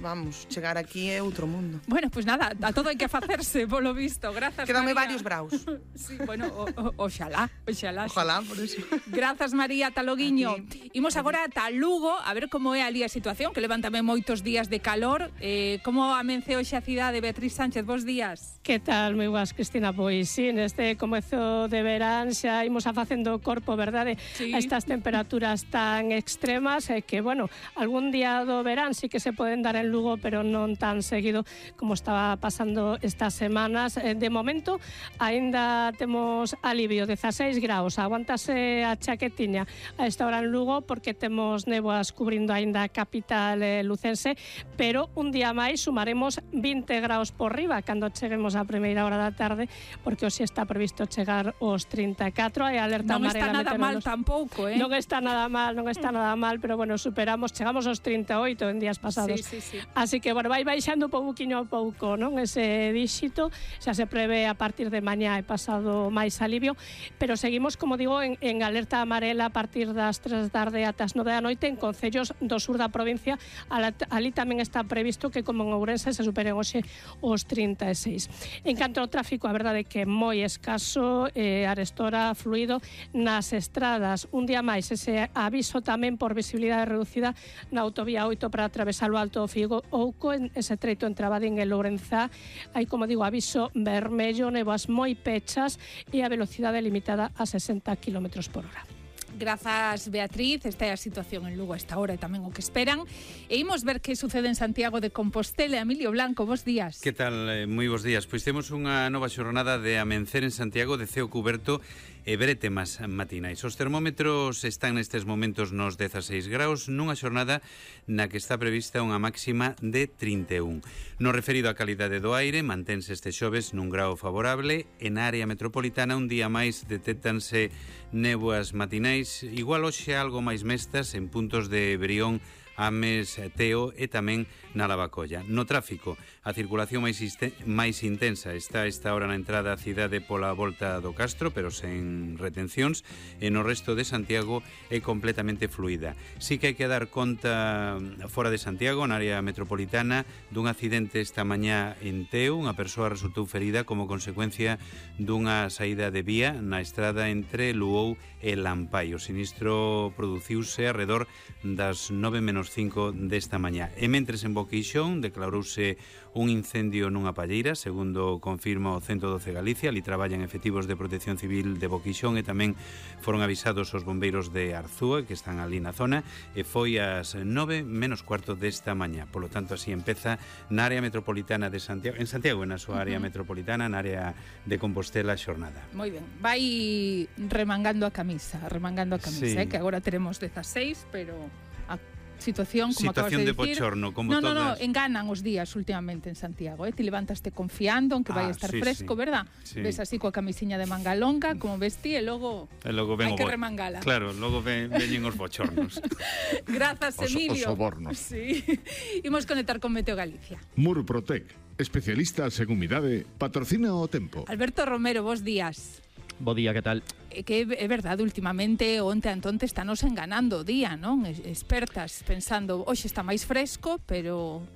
vamos, chegar aquí é outro mundo. Bueno, pues nada, a todo hai que facerse, polo visto. Grazas, Quédame María. varios braus. Sí, bueno, oxalá. Ojalá, por eso. Grazas, María, ata loguiño. Imos agora ata Lugo, a ver como é ali a situación, que levan tamén moitos días de calor. Como amence hoxe a cidade, Beatriz Sánchez, bos días. Que tal, moi boas, Cristina? Pois sí, neste comezo de verán xa imos a facendo corpo, verdade? Sí. A estas temperaturas tan extremas que, bueno, algún día do verán sí que se poden dar en Lugo, pero non tan seguido como estaba pasando estas semanas. De momento, aínda temos alivio, 16 graus, aguántase a chaquetiña a esta hora en Lugo porque temos néboas cubrindo aínda a capital lucense, pero un día máis sumaremos 20 graus por riba cando cheguemos a primeira hora da tarde, porque hoxe está previsto chegar aos 34, hai alerta Non amarela. está nada mal tampouco, Non está nada mal, pero bueno, chegamos aos 38 en días pasados. Sí. Así que, bueno, vai baixando pouquiño a pouco, non? Ese díxito xa se prevé a partir de mañá e pasado máis alivio, pero seguimos, como digo, en alerta amarela a partir das 3 da tarde ata as 9 da noite en concellos do sur da provincia. Ali tamén está previsto que, como en Ourense, se superen hoxe os 36. En canto ao tráfico, a verdade é que é moi escaso, arestora fluido nas estradas. Un día máis, ese aviso tamén por visibilidade reducida na autovía 8 para atravesar o Alto Figo Ouco, en ese treito entre Abadín e Lourenzá. Hai, como digo, aviso vermello, néboas moi pechas e a velocidade limitada a 60 km por hora. Grazas, Beatriz. Esta é a situación en Lugo a esta hora e tamén o que esperan. E imos ver que sucede en Santiago de Compostela. Emilio Blanco, bos días. Que tal? Moi bos días. Pois temos unha nova xornada de amencer en Santiago de ceo cuberto e brétemas matinais. Os termómetros están nestes momentos nos 16 graus, nunha xornada na que está prevista unha máxima de 31. No referido á calidade do aire, mantense este xoves nun grau favorable. En área metropolitana, un día máis detéctanse néboas matinais, igual hoxe algo máis mestas en puntos de Brión, Ames, Teo e tamén na Lavacolla. No tráfico, a circulación máis intensa está a esta hora na entrada á cidade pola volta do Castro, pero sen retencións, e no resto de Santiago é completamente fluida. Sí que hai que dar conta fora de Santiago, na área metropolitana, dun accidente esta mañá en Teo. Unha persoa resultou ferida como consecuencia dunha saída de vía na estrada entre Luou e Lampai. O sinistro produciuse arredor das 9:05 desta mañá. E mentres en Boqueixón declarouse un incendio nunha palleira, segundo confirma o 112 Galicia. Ali traballan efectivos de Protección Civil de Boqueixón e tamén foron avisados os bombeiros de Arzúa, que están ali na zona, e foi ás 9:15 desta mañá. Por lo tanto, así empeza na área metropolitana de Santiago, en Santiago, na súa área metropolitana, na área de Compostela, a xornada. Moi ben, vai remangando a camisa, Sí. Que agora teremos 16, pero a situación, como acabas de Situación de dicir, bochorno, como no, todas. enganan os días últimamente en Santiago, Te levantaste confiando en que vai estar fresco, verdad? Sí. Ves así coa camisiña de manga longa, como vestí, e logo hai que remangala. Claro, logo veñen os bochornos. Grazas, Emilio. Os sobornos. Sí. Imos conectar con Meteo Galicia. Murprotec, especialistas en humidade, patrocina o tempo. Alberto Romero, bos días. Bo día, que tal? Que é verdade, últimamente onte antonte estános enganando o día, non? Expertas pensando, hoxe está máis fresco, pero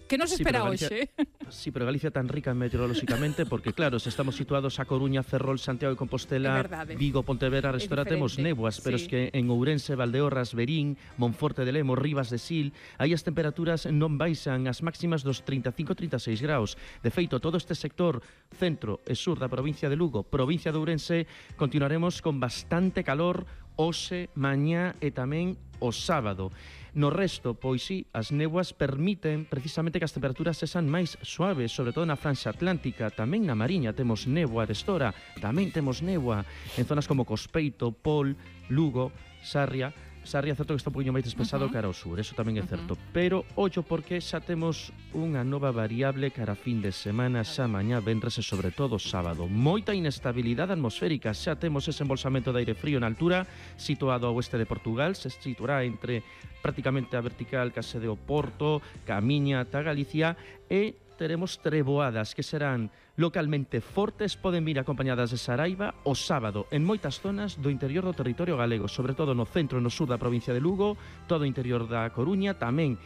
que nos espera hoxe? Sí, pero Galicia tan rica meteorolóxicamente, porque claro, se estamos situados a Coruña, Ferrol, Santiago de Compostela, Vigo, Pontevedra, Restora, temos néboas, pero es que en Ourense, Valdeorras, Verín, Monforte de Lemos, Rivas de Sil, aí as temperaturas non baixan as máximas dos 35-36 graus. De feito, todo este sector centro e sur da provincia de Lugo, provincia de Ourense, continuaremos con bastante calor hoxe, mañá e tamén o sábado. No resto, pois sí, as néboas permiten precisamente que as temperaturas sexan máis suaves, sobre todo na franxa atlántica. Tamén na Mariña temos néboa de Estora, tamén temos néboa en zonas como Cospeito, Pol, Lugo, Sarria, certo que está un poquinho máis despesado cara ao sur, eso tamén é certo. Pero, ollo, porque xa temos unha nova variable cara a fin de semana, xa mañá, venres e sobre todo sábado. Moita inestabilidade atmosférica, xa temos ese embolsamento de aire frío na altura, situado ao oeste de Portugal, se situará entre prácticamente a vertical case de Oporto, Camiña ata Galicia, e teremos treboadas que serán localmente fortes, poden vir acompañadas de saraiva o sábado en moitas zonas do interior do territorio galego, sobre todo no centro e no sur da provincia de Lugo, todo o interior da Coruña, tamén